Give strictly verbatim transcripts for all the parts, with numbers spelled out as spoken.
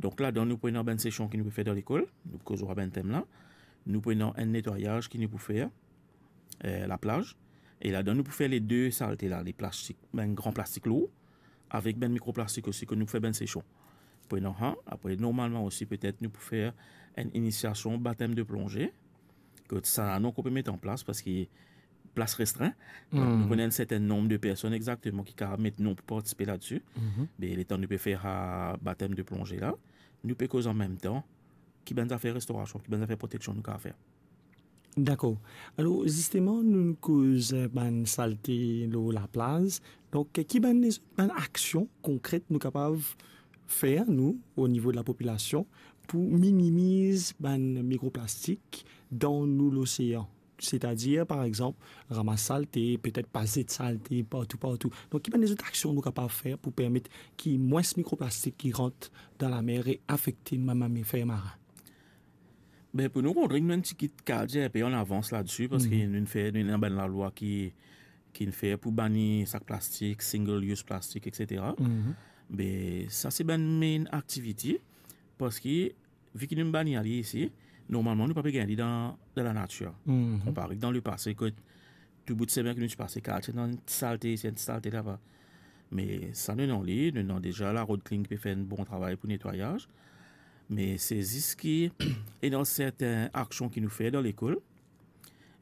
Donk ladan nou pou ena bann sesion ki nou pou fer dan lekol, nou pou koz lor bann tem la. Nou pou ena enn netwayaz ki nou pou fer, eh, laplaz. E ladan nou pou fer le de salte la, le plastik, bann gran plastik lour, avek bann mikroplastik osi, ki nou pou fer bann sesion. Pou ena sa, apre normalman osi petet nou pou fer enn inisiasion batem de plonze, ki sa nou ankor pe met an plas parski plas restrin. Donk, nou konn enn serten nonb de personn exakteman ki kapav met nom pou partisipe ladsi. Me letan nou pe fer sa batem de plonze la, nou pe koz anmemtan ki bann zafer restorasion, ki bann zafer proteksion nou kapav fer. Dakor. Alor, zisteman, nou koz bann salte lor laplaz. Donk, ki bann, bann aksion konkret nou kapav fer, nou, o nivo de lapopilasion, pou minimiz bann mikroplastik dan nou losean? Setadir, par exanp, ramas salte, petet pa zet salte partou, partou. Donk, ki bann lezot aksion nou kapav fer pou permet ki mwins mikroplastik ki rant dan lamer e afekte nou bann mamifer marin? Be, pou nou, Rodrig, nou enn tigit kapav dir enpe an avans ladsi, parski nou fer, nou ena bann lalwa ki, ki fer pou bani sak plastik, single use plastik, et cetera. Be, sa se bann main aktivite, parski, vi ki nou bani li isi, normalman, nou pa pe gagn li dan, dan lanatir. Konpare dan lepase, kot tou bout semen ki nou ti pase, kapav ti ena enn ti salte isi, enn ti salte laba. Me sa, nou ena li, nou ena deza la Road Clean ki pe fer enn bon travay pou netwayaz. Me se zis ki ena serten aksion ki nou fer dan lekol.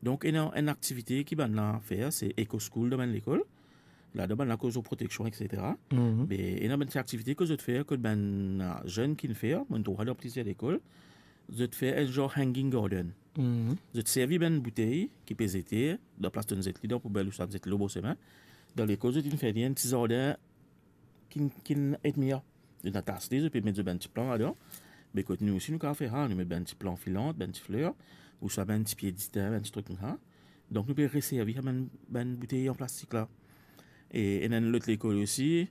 Donk, ena enn aktivite ki bannla fer, se Eco School dan bann lekol. Ladan bannla koz lor proteksion, et cetera. Me ena bann ti aktivite ki zot fer, kot bann, ah, zenn ki fer, mo trouv dan plizier lekol, zot fer enn zar hanging garden. Zot servi bann boutey ki pe zete, dan plas donn zet li dan poubel ouswa zet li lor bor semin. Dan lekol, zot inn fer li enn ti zardin ki, ki et mia. Zot inn atas li, zot pe met zot bann ti plan ladan. Be kot nou osi, nou kapav fer sa, nou met bann ti plan filant, bann ti fler, ouswa bann ti pie ditin, bann ti trik koumsa. Donk, nou pe reservi sa bann, bann boutey an plastik la. E ena enn lot lekol osi,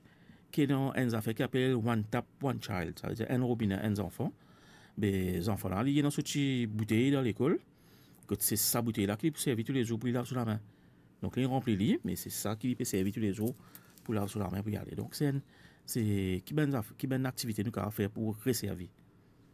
ki ena enn zafer ki apel One Tap, One Child. Savedir enn robine, enn zanfan. Be, zanfan la, li ena so ti boutey dan lekol. Kot se sa boutey la ki li pou servi toulezour pou li lav so lame. Donk, li ranpli li, me se sa ki li pe servi toulezour pou lav so lame pou li ale. Donk, se enn, se ki bann zaf-, ki bann aktivite nou kapav fer pou reservi.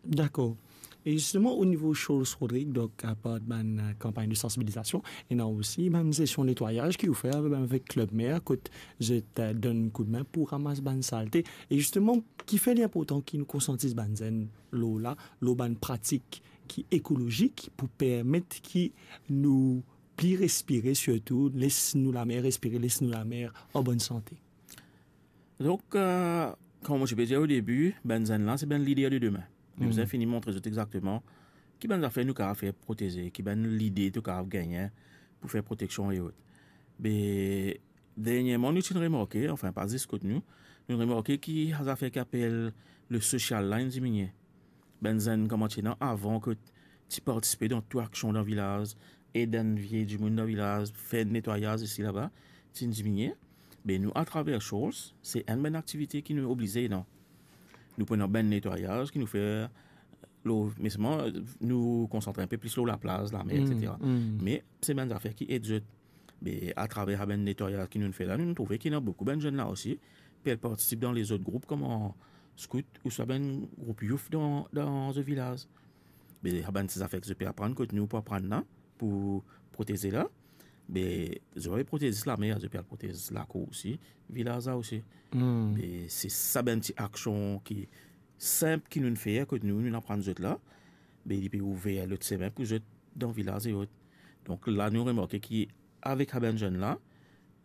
Dakor. E zisteman, o nivo Shoals Rodrig, donk, apar bann, eh, kanpagn de sansibilizasion, ena osi bann sesion netwayaz ki ou fer avek, avek Club Mer, kot zot, eh, donn koudme pou ramas bann salte. E zisteman, kifer li inportan ki nou konsiantiz bann zenn lor la, lor bann pratik ki ekolozik pou permet ki nou pli respire, sirtou les nou lamer respire, les nou lamer an bonn sante. Donk, eh, kouma mo ti pe dir o debi, bann zenn la, se bann lider de demin. Nou bizin fini montre zot exakteman ki bann zafer nou kapav fer pou proteze, ki bann lide to kapav gagne pou fer proteksion e ot. Be, dernierman, nou ti remarke, anfin, pa zis kot nou, nou remarke ki sa zafer ki apel le social la inn diminie. Bann zenn kouma ti ena avan ki ti partisipe dan tou aksion dan vilaz, ed bann vie dimoun dan vilaz, fer netwayaz isi laba, ti diminie. Be nou, atraver Shoals, se enn bann aktivite ki nou oblize ena. Nou pou ena bann netwayaz ki nou fer lor, me selman, nou konsantre inpe plis lor laplaz, lamer, et cetera. Me se bann zafer ki ed zot. Me atraver sa bann netwayaz ki nou fer la, nou trouve ki ena boukou bann zenn la osi pe al partisip dan lezot group kouma skout ouswa bann group youth dan, dan zot vilaz. Me sa bann ti zafer ki zot pe aprann kot nou pou aprann la, pou proteze la, me zot pa pe protez zis lamer, zot pe al protez lakour osi, vilaz la osi. Me se sa bann ti aksion ki sinp ki nou fer kot nou, nou aprann zot la, be li pe ouver lot semin pou zot dan vilaz e ot. Donk la, nou remarke ki avek sa bann zenn la,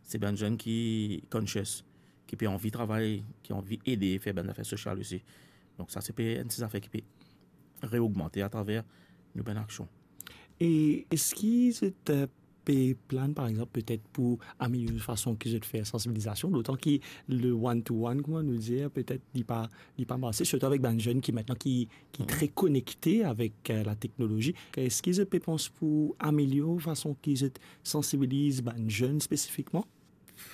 se bann zenn ki conscious, ki pe anvi travay, ki anvi ede fer bann zafer sosial osi. Donk sa se pe enn ti zafer ki pe reogmante atraver nou bann aksion. E eski zot, eh, pe plann, par exanp, petet pou amelior fason ki zot fer sansibilizasion, dotan ki le one to one, kouma nou dir, petet li pa, li pa marse, sirtou avek bann zenn ki aster ki, ki tre konekte avek, eh, lateknolozi. Eski zot pe pans pou amelior fason ki zot sansibiliz bann zenn spesifikman?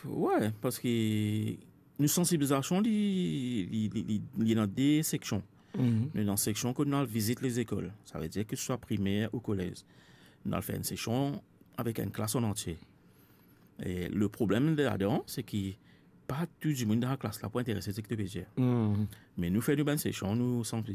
Wi, parski nou sansibilizasion, li, li, li, li, li ena de seksion. Nou ena seksion kot nou al vizit lezekol, savedir ki swa primer ou kolez. Nou al fer enn seksion avek enn klas an antie. E le problem ladan, se ki pa tou dimoun dan laklas la pou interese seki to pe dir. Hmm. Me nou fer nou bann sesion, nou santi